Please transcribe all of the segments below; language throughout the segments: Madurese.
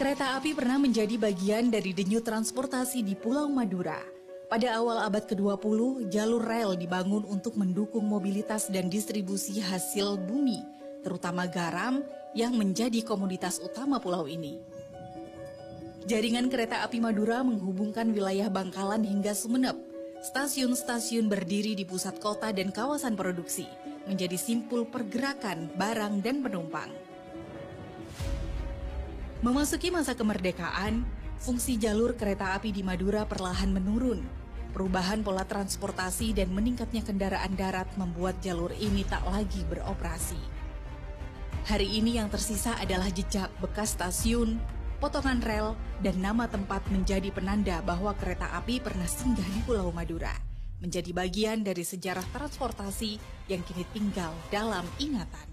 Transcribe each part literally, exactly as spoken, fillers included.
Kereta api pernah menjadi bagian dari denyut transportasi di Pulau Madura. Pada awal abad kedua puluh, jalur rel dibangun untuk mendukung mobilitas dan distribusi hasil bumi, terutama garam, yang menjadi komoditas utama pulau ini. Jaringan kereta api Madura menghubungkan wilayah Bangkalan hingga Sumenep. Stasiun-stasiun berdiri di pusat kota dan kawasan produksi, menjadi simpul pergerakan barang dan penumpang. Memasuki masa kemerdekaan, fungsi jalur kereta api di Madura perlahan menurun. Perubahan pola transportasi dan meningkatnya kendaraan darat membuat jalur ini tak lagi beroperasi. Hari ini yang tersisa adalah jejak bekas stasiun, potongan rel, dan nama tempat menjadi penanda bahwa kereta api pernah singgah di Pulau Madura, menjadi bagian dari sejarah transportasi yang kini tinggal dalam ingatan.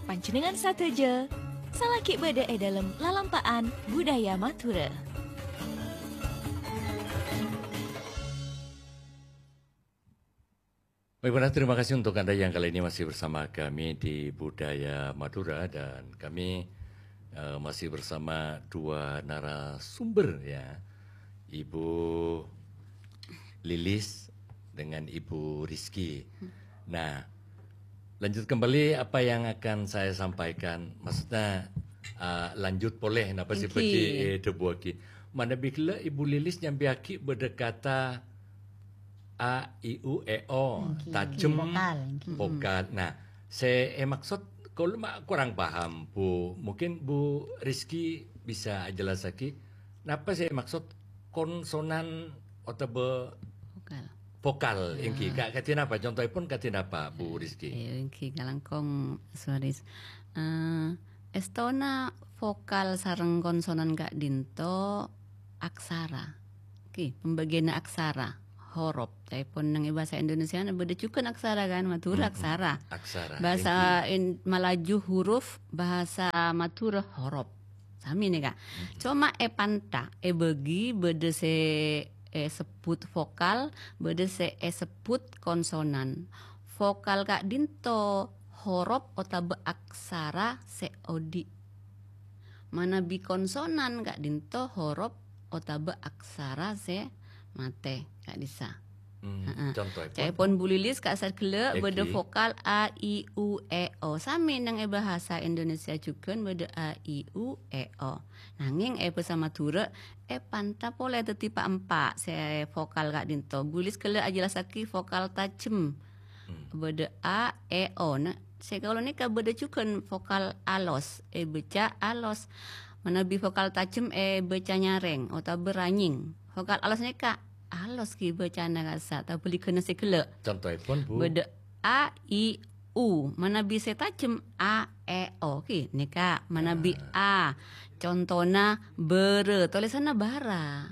Panjhennengngan sadhâjâ, salaghi bâdâ è dhâlem lalampa'an budaya Madhurâ. Baik, terima kasih untuk Anda yang kali ini masih bersama kami di Budaya Madura, dan kami, eh, masih bersama dua narasumber, ya, Ibu Lilis dengan Ibu Rizky. Nah, lanjut kembali apa yang akan saya sampaikan, maksudnya, eh, lanjut polè napa sè Èngghi. Bhâdhi èdhâbuwâghi. Manabi ghellâ' Ibu Lilis nyampèyaghi bâdâ kata A, I, U, E, O, Èngghi. Tajhem, vokal, èngghi. Vokal. Nah, sè èmaksud, kaulâ ma' kurang paham, Bu. Mungkin Bu Rizky bisa ajhellassaghi, napa sè èmaksud konsonan otabâ vokal, vokal, ya, èngghi. Ka-, kadhi napa? Contoèpon kadhi napa, Bu Rizky? Èngghi, kalangkong, Suwaris. Eh, èstona vokal sareng konsonan ka'dinto aksara. Oke, pembagianna aksara, horop. Ca'èpon neng è bhâsa Indonesiana bâdâ jhughân aksara, kan? Madhurâ aksara. Aksara, bhâsa èngghi. In-, Malaju huruf, bhâsa Madhurâ horop. Samè nèka. Coma è panta, èbâgi bâdâ sè èsebbhut vokal, bâdâ sè èsebbhut konsonan. Vokal ka'dinto horop otabâ aksara sè odi'. Manabi konsonan ka'dinto horop otabâ aksara sè matè ka'dissa'. Hmm, heeh. Contoèpon? Ca'èpon Bu Lilis ka'issa' ghellâ' bâdâ vokal A, I, U, E, O. Samè neng è bhâsa Indonesia jhughân bâdâ A, I, U, E, O. Nangèng è bhâsa Madhurâ, è panta polè dhâddhi pa'-empa' sè vokal ka'dinto. Bu Lilis ghellâ' ajhellassaghi vokal tajhem. Hmm. Bâdâ A, E, O. Nah, sè kaulâ nèka bâdâ jhughân vokal alos, èbâca alos. Manabi vokal tajhem èbâca nyarèng otabâ ranyèng. Vokal alos nèka alos ghi bâcana kassa', tabâligghâna sè ghellâ'. Contoèpon, Bu? Bâdâ A, I, U. Manabi sè tajhem A, E, O. Ghi, nèka manabi A. Contona bârâ, tolèsanna bârâ.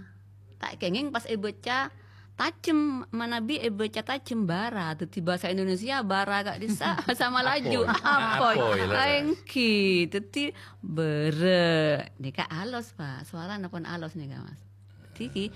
Ta' kèngèng pas èbâca tajhem, manabi èbâca tajhem bârâ. Dhâddhi bhâsa Indonesia bârâ ka'dissa' bhâsa Malaju. Apoy. Apoy. Apoy, leres. Èngghi. Dhâddhi bârâ. Nèka alos, Pak. Sowarana pon alos nèka, Mas. Dhâddhi,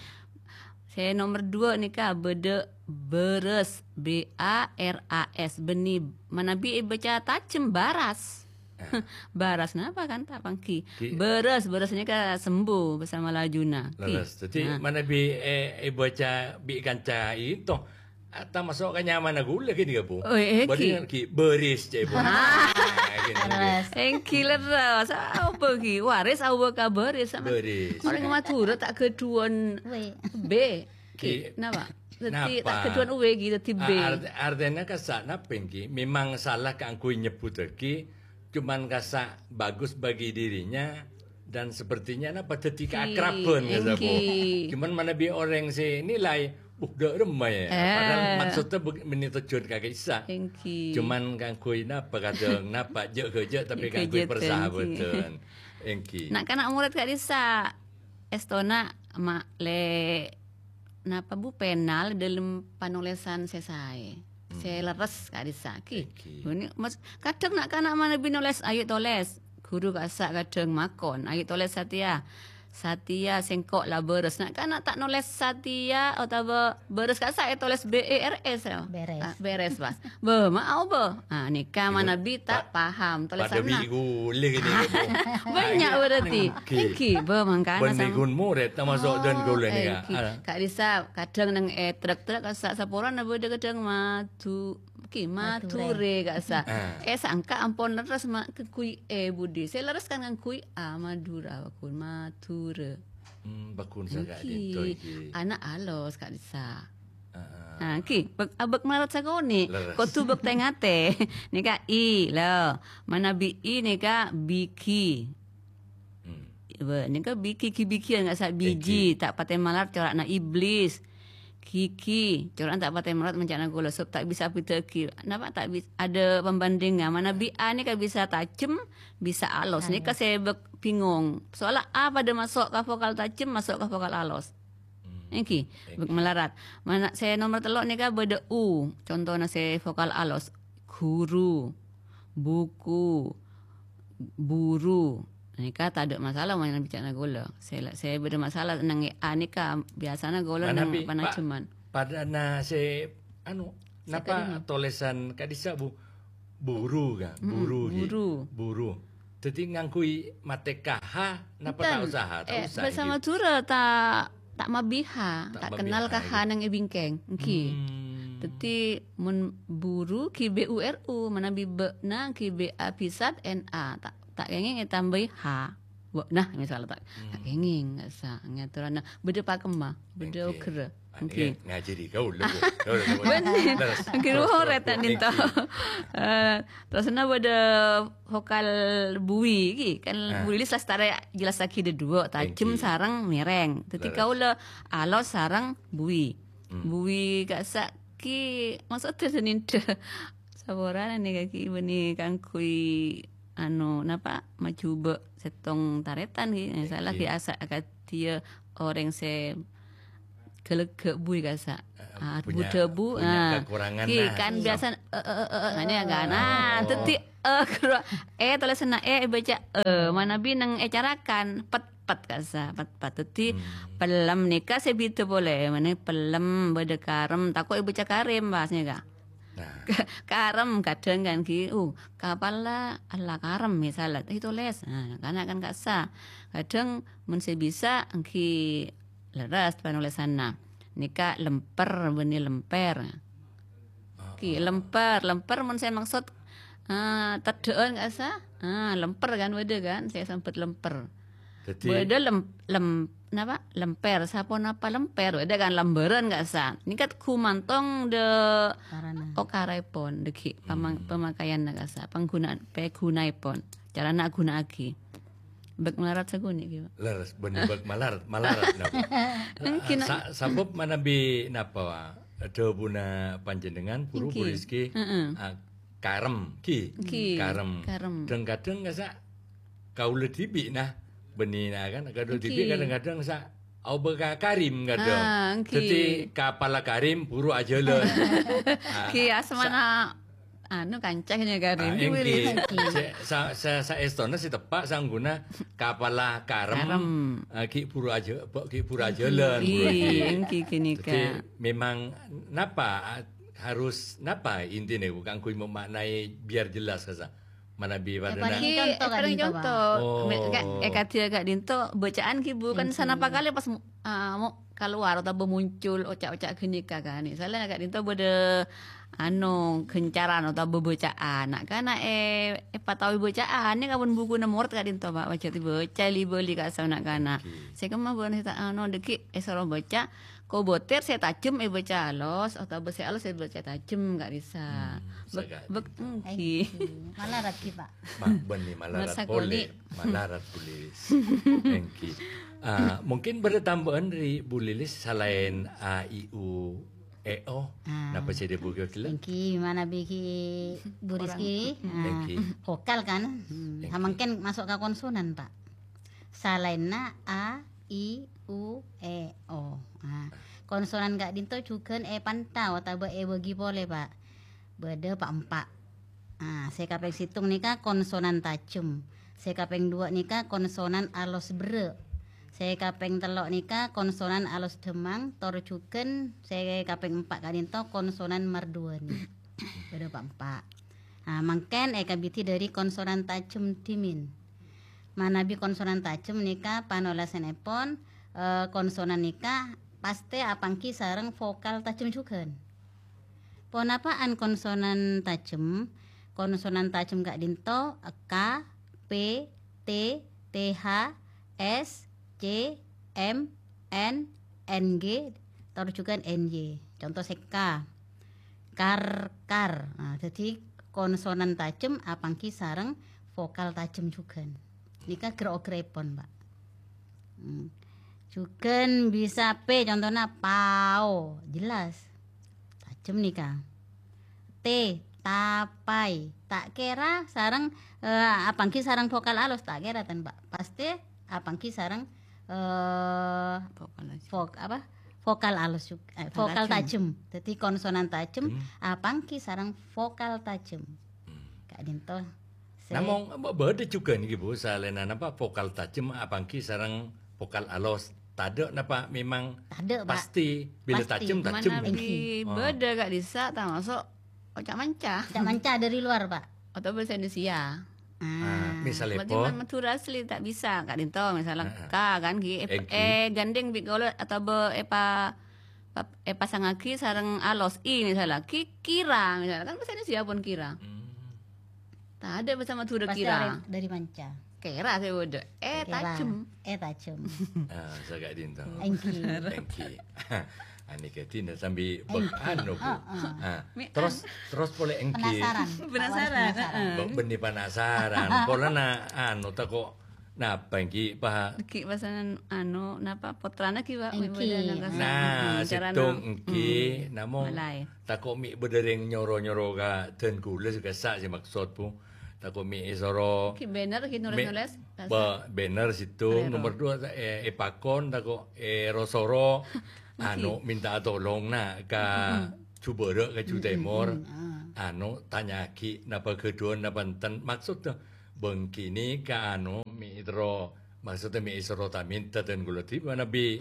sè nomer dua nèka bâdâ bârâs, B A R A S, bânnè manabi èbâca tajhem bârâs. Ah. Bârâs napa kan ta' pangghi? Ki- Bârâs, bârâs nèka sembuh bhâsa Maljuna. Ki. Leres. Dhâddhi, nah, manabi, eh, èbâca bi' kanca ènto, ah, tamaso' ka nyamana ghulâ kènè, Bu. Oh, eh, ki. Bârâs, ki, bâris, cè', Bu. Ah. Ah, kènè, kènè. Leres. Èngghi leres. Apa, ki? Waris apa ka bâris? Bâris. Orèng Madhurâ ta' ghâdhuwân W. B. Ki, napa? Dhâddhi, ta' ghâdhuwân W, ki, dhâddhi B. A-, art-, artèna kassa' napa, èngghi? Memang salah kaangghuy nyebbhuttaghi, cuman kassa' bagus bagi dirinya dan sepertinya napa dhâddhi kaakraban, kassa', Bu. Èngghi. Cuman manabi orèng sè nilai, "Uh, dâ' remma, ya." Eh. Padahal maksudnya bug-, mènè tojjhuwân ka ka'issa'. Èngghi. Cuman kaangghuy napa kadhâng, napa jâ'-ghâjâ', tapè kaangghuy persahabhâdhân. Èngghi. Na'-kana' morèd ka'dissa'. Èstona ma-, lè-, napa, Bu, pèna è dhâlem panolèsan sè saè, sè lerres ka'dissa', ki. Èngghi. Bânnè, mas-, kadhâng na'-kana' manabi nolès, "Ayo tolès." Ghuru kassa' kadhâng makon, "Ayo tolès satèya." Satèya sèngko' la bârâs. Na'-kana' ta' nolès satèya otabâ bârâs ka'issa' ètolès B E R S, ya? Bèrès. Ah, bèrès, pas. Bâ, ma' aobâ. Ah, nèka manabi ta' paham tolèsanna. Padâ bi' ghulâ ghi nèka, Bu. Bânnya' berarti. Èngghi. Èngghi, bâ, mangkana bân sama. Bân ghun morèd, tamaso' dân ghulâ nèka. Oh, èngghi. Ah. Ka'dissa' kadhâng neng è trek-trek ka'issa' saporana bâdâ kadhâng madu, èngghi, Madhurâ. Madhurâ ka'issa'. Ah. Eh, sangka ampon lerres ma-, ngangghuy è budi. Sè lerres kan ngangghuy A, Madhurâ, bâ ghun, Madhurâ. Hmm, bâ ghun sa ka'dinto èngghi. Ana' alos ka'dissa'. Heeh. Nah, èngghi, bâk-, abâk malarat sakonè'. Leres. Kodhu bâk tè-ngatè. Nèka I, lho. Manabi I nèka bigi. Hmm. Bâ, nèka bigi, gi-bigiyan ka'issa' biji, èngghi. Ta' patè malarat cora'na iblis. Gigi, cora'na ta' patè malarat manca'na kaulâ, sabâb ta' bisa abhidhâ'aghi. Napa ta' bis-, ada pembandingan. Manabi A nèka bisa tajem, bisa alos. Alos. Nèka sè bâk-, bingung. Soalla A padâ maso' ka vokal tajem, maso' ka vokal alos. Hmm. Èngghi, èngghi. Bâk malarat. Mana sè nomer tello' nèka bâdâ U, contona sè vokal alos. Guru, buku, buru. Nèka tadâ' masalah mon bica'na kaulâ. Sè la-, sè bâdâ masalah neng A nèka, biasana kaulâ neng Manabi, Pak, panajeman. Padâna sè, anu, Sè napa kelima. Tolèsan ka'dissa', Bu? Buru, kan? Mm-mm, buru, ghi. Buru. Buru. Dhâddhi ngangghuy matè ka H, napa ta' Enten. Usaha? Ta' Eh, usaha, bhâsa ghi. Madhurâ ta', ta' mabi H, Ta' ta' mabi kennal H, ka H ghi. Neng è bingkèng. Èngghi. Hmm. Dhâddhi, mon buru, ghi B U R U, manabi bâ'na, ghi B A bhisat, N A. Ta', ta' kèngèng ètambâi H. Bâ'na, misal ta', ta' Hmm. kèngèng, ka'issa', ngatorana. Bâdâ pakemma, bâdâ Èngghi. Oghârrâ. Ah, Èngghi. Iya, ngajhâri kaulâ, Bu. Kaulâ, kaulâ. Bânnè. Leres. Èngghi, terus, terus, terus, Bu. Èngghi. Eh, terros na bâdâ vokal bui, ghi. Kan Ah. Bu Lilis lastarè jelas lagi dâ' duwâ', tajem Èngghi. Sareng mèrèng. Dhâddhi Leres. Kaulâ alos sareng bui. Hmm. Bui ka'issa' ghi maksodda sanèndhâ. Saporana nèka ghi bânnè kaangghuy, anu, napa, majhubâ' sèttong tarètan ghi. Èngghi. Salah ghi asa akadhi orèng sè ghâlâghâ' bui ka'issa'. Eh, Ah, punya, bu-dâbu, punya ah. Kekurangan, Ghi, nah. Kan biasa, eh, eh, eh, eh, eh, kan, ah. Oh. Dhâddhi, eh, ghâruwa, eh, tolèsanna, eh, èbâca, eh, manabi neng ècarakan, pet, pet ka'issa', pet, pet. Dhâddhi, Hmm. pellem nèka sè bhidhâ polè, manabi pellem, bâdâ karem, tako' èbâca karem, pas nèka. Nah. Karem, kadhâng kan, ghi, uh, kapala, alla karem, misal, eh, tolès. Nah, kana' kan ka'issa'. Kadhâng, mon sè bisa, ghi, lerres panolèsanna. Nèka lemper bânnè lemper. Ki, lemper, lemper mon sè maksod, eh, teddhâ'ân ka'issa'? Ah, lemper kan bâdâ kan, sè sambhât lemper. Dhâddhi bâdâ lem-, lem-, napa? Lemper, saponapa lemper? Bâdâ kan lambârân ka'issa'. Nèka ghumantong dâ' Karana. Okaraèpon, dâgghi' pamang-, Hmm. pemakaianna ka'issa', panggunaan, paghuna'èpon. Carana aghuna'aghi. Bâk malarat sakonè', ghi, Pak. Leres, bânnè bâk malarat, malarat napa? Mungkin, Sa-, sabâb manabi napa, Pak? Dhâbuna panjhennengan, buru, Èngghi. Bu Rizki, Heeh. ah, karem, ghi. Èngghi, Karem. Karem. Dhâng-kadhâng ka'issa' kaulâ dhibi', nah, bânnè, nah, kan, kaulâ dhibi' Èngghi. Kadhâng-kadhâng sa-, aobâ ka Karim, kadhâng. Ah, èngghi. Dhâddhi, kapala Karim, buru ajhâlân. Ah, Èngghi, asmana sa- anu, kanca kènè' Karim. Ah, èngghi. Cè', sa-, sa-, saèstona sè teppa' sangguna kapala Karem. Karem. Ah, ghi' buru ajhâ-, ghi' buru ajhâlân, Èngghi, buru ajhâlân. Èngghi, ghânèka. Dhâddhi, memang napa, harus napa intina, Bu, kaangghuy memaknai biar jelas, ka'issa'? Manabi Eh, padâna. Parèng conto, Èparèng ka'dinto, Pak. Conto. Oh. Me-, ka-, eh, kadhi ka'dinto, bâca'an ghi, Bu, kan Èngghi. Sanapa kalè pas mu-, ah, mo-, kalowar otabâ muncul oca'-oca' ghânèka, kan. Misalnya ka'dinto bâdâ, anu, ghâncaran otabâ bâbâca'an. Na'-kana', eh, èpataowè bâca'an, nèka pon bukuna morot ka'dinto, Pak. Pajhât èbâca li-bâli ka'issa' na'-kana'. Èngghi. Sè kemma bân sè ta', anu, dâgghi' èsoro bâca, kobâtèr sè tajem èbâca alos, otabâ sè alos èbâca tajem, ka'issa'. Hmm, Bâk-, sa ka'dinto. Bâk-, èngghi. Èngghi. Malarat ghi, Pak. Ma-, bânnè malarat Masa polè. Koni. Malarat polè. Èngghi. Ah, mungkin bâdâ tambâ'ân dâri Bu Lilis salaèn A, I, U, E, O. Ah. Napa sè dâbu ghellâ'? Èngghi, manabi ghi Bu Rizki, ah, Èngghi. Vokal kan? Hmm, Èngghi. Samangkèn maso' ka konsonan, Pak. Salaènna A, I, U, E, O. Ah, konsonan ka'dinto jhughân èpanta otabâ èbâgi polè, Pak. Bâdâ pa'-empa'. Ah, sè kapèng sèttong nèka konsonan tajem. Sè kapèng duwâ' nèka konsonan alos berrâ'. Sè kapèng tello' nèka konsonan alos dhemmang, tor jhughân sè kapèng empa' ka'dinto konsonan marduwâni. Bâdâ pa-, empa'. Nah, mangkèn èkabidhi dhâri konsonan tajem dhimèn. Manabi konsonan tajem nèka panolasannèpon, eh, konsonan nèka pastè apangghi sareng vokal tajem jhughân. Ponapa'an konsonan tajem? Konsonan tajem ka'dinto K, P, T, T H, S, C, M, N, N G, tor jhughân N Y. Conto sè K. Kar, kar. Nah, dhâddhi konsonan tajem apangghi sareng vokal tajem jhughân. Nèka ghâr-oghârèpon, Pak. Hmm. Jhughân bisa P, contona pao, jelas. Tajem nèka. T, tapai. Ta' kèra sareng, eh, apangghi sareng vokal alos, ta' kèra ten, Pak. Pastè apangghi sareng, eh, Vokal alos. Vok-, apa? Vokal alos jug-, eh, vokal Tajem. Tajem. Dhâddhi konsonan tajem Hmm. apangghi sareng vokal tajem. Hmm. Ka'dinto. Sè Namong, ba-, bâdâ jhughân nèka, Bu, salèna napa vokal tajem apangghi sareng vokal alos. Tadâ' napa memang Tadâ', Pak. pastè bilâ Pastè. tajem, tajem? Manabi Èngghi. Oh. bâdâ ka'dissa' tamaso' oca' manca. Oca' manca dari luar, Pak. Atau bahasa Indonesia. Ah, Ah. misalnya Berarti apa? man Madhurâ asli ta' bisa, ka'dinto, misalnya Heeh. K kan, ghi, ep-, Èngghi. eh, gandeng bi' kaulâ atau be-, epa-, pap-, epasangaghi sareng alos I, misalnya, ki-, kira, misalnya, kan bahasa Indonesia pon kira. Hmm. Tadâ' bahasa Madhurâ Pasti kira. dari, dari manca. Kèra sè bâdâ. Eh, Kèra. tajem. Eh, tajem. Ah, sè ka'dinto. Èngghi. Èngghi. Anè kadhi na sambi Èngghi. bek anu, Bu. Heeh. Ah, Mi-, terros, terros polè èngghi. Penasaran. Penasaran, Penasaran. heeh. Bek bânnè penasaran. Polana anu tako' napa èngghi, Pak? Ghi pasanan anu, napa, pottrana ghi, Pak? Èngghi. Bâdâ nang Nah, kasar. Hmm, carana. sèttong èngghi, Hmm. namong Malaè. tako' mè' bâdâ rèng nyoro-nyoro ka dân kaulâ sè kassa' sè maksod, Bu. Tako' mè' èsoro Ki banner, ki mè' nulis-nulis, ba-, banner sèttong, Rero. Nomor dua, eh, èpakon, tako' èro-soro, Mesti. anu, minta tolong, na, ka Mm-mm. Jubârâ', ka Ju Mm-mm, Tèmor. mm, ah. Anu, tanya'aghi, napa ghâdhuwân, napa enten. Maksodda, bângkènè ka, anu, mè' terro Maksodda mè' èsoro ta' mènta dân kaulâ dhibi' manabi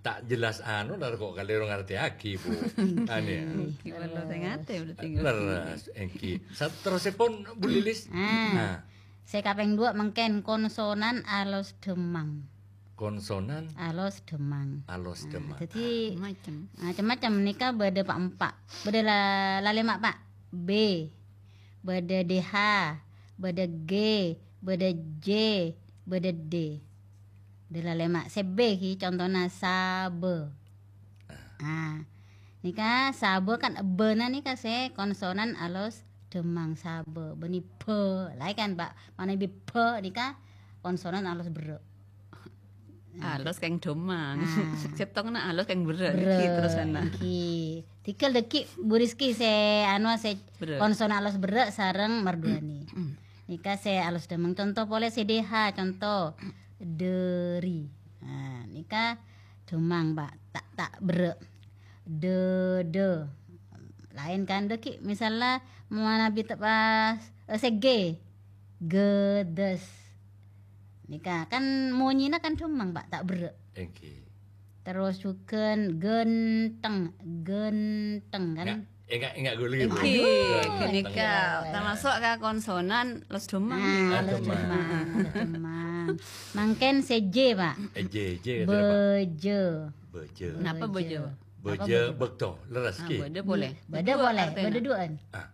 ta' jelas anu, la kok kalèro ngartèyaghi, Bu. Anè. Èngghi, perlu sè ngatè berarti. Lerres, èngghi. Sa-, terrossèpon, Bu Lilis? Ah. Nah. Sè kapèng duwâ' mangkèn konsonan alos dhemmang. Konsonan Alos dhemmang. alos Nah, dhemmang. dhâddhi Ah, macem. macem-macem nèka bâdâ pa', empa'. Bâdâ la-, lalèma', Pak. B. Bâdâ D H, bâdâ G, bâdâ J, bâdâ D. Dâ' lalèma'. Sè B ghi contona sabâ. Ah. Nèka sabâ kan bâna nèka sè konsonan alos dhemmang sabâ. Bânnè bâ. Laè kan, Pak? Manabi bâ nèka konsonan alos berrâ'. Alos kèng dhemmang. Ah. Sèttongnga alos kèng berrâ'. Berrâ', nèkè terrosanna. Nèkè. Tèngghâl dâgghi' Bu Rizky sè anu sè Berrâ'. konsonan alos berrâ' sareng merduwâni. Nèka sè alos dhemmang. Conto polè sè D H, conto. Dâri. Nah, nèka dhemmang, Pak. Ta', ta' berrâ'. Dâdâ. Laèn kan dâgghi'. Misalla manabi ta' pas, eh, sè G. Gâdâs. Nèka kan monyèna kan dhemmang, Pak, ta' berrâ'. Èngghi. Terros jhughân ghântheng, ghântheng kan. Enggak, enggak, enggak ghuli, Bu. Èngghi, Ghântheng. Ghânèka. Tamaso' ka konsonan los dhemmang. Ah, Ah, los dhemmang. dhemmang, los dhemmang. Mangkèn sè J, Pak. Eh, J, J, kata apa? Bâjâ. Bâjâ. Napa bâjâ? Bâjâ. Apa bâjâ, Pak? Bâkto, lerres Ah, ghi. bâdâ polè. Bâdâ Bâdâ polè, artèna. bâdâ duwâ'ân. Ah.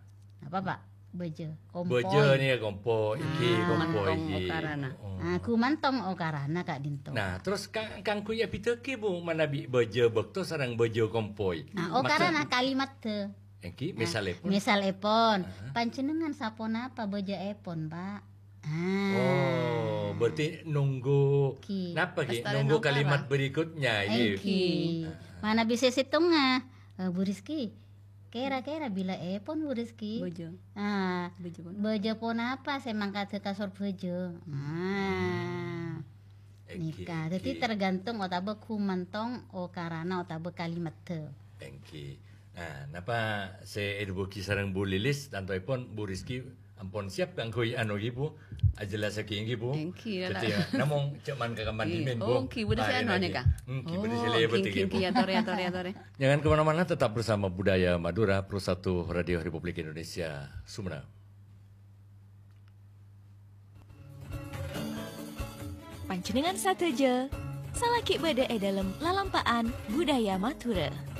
Apa, Pak? Bâjâ. Bâjâ Kompoy. nèka kompoy, èngghi, Ah. kompoy, Mantong èngghi. okarana. Oh. Ah, gumantong okarana ka'dinto. Nah, terros ka-, kaangghuy abhidhâghi, Bu, manabi bâjâ bâkto sareng bâjâ kompoy. Ah, Maksud okarana kalimat dâ. Èngghi, Nah, misalèpon. misalèpon, Ah. panjhennengngan saponapa bâjâèpon, Pak? Ah. Oh, berarti nunggu Ghi. napa ghi? Lestari Nunggu nongkara. kalimat berikutnya, ghi. Èngghi. Ah. Manabi sè sèttongnga, eh, Bu Rizky, Kèra-kèra bilâèpon, Bu Rizky? Bâjâ. Ah, Bâjâ ponapa? bâjâ ponapa sè mangkada kasor bâjâ? Ah. Èngghi, Nèka. Dâddhi èngghi. tergantung otabâ gumantong okarana otabâ kalimatta. Èngghi. Nah, napa sè èdhâbuwâghi sareng Bu Lilis, tantoèpon Bu Rizky Ampon siap kaangghuy anu, ghi, Bu. Ajellassaghi, ghi, Bu. Èngghi, la. Dhâddhi, ya, namong jhâman ka kamandhi, Èngghi. Min, Bu. Oh, èngghi, bâdâ sè Nah, anu, ènè, nèka. Èngghi, bâdâ sè Oh, lèbât, èngghi, ghi, Bu. èngghi, atore, atore, atore. Jangan kemana-mana, tetap bersama Budaya Madura, Pro satu Radio Republik Indonesia, Sumenep. Panjhennengngan sadhâjâ, salaghi bâdâ è dâlem lalampa'an Budaya Madhurâ.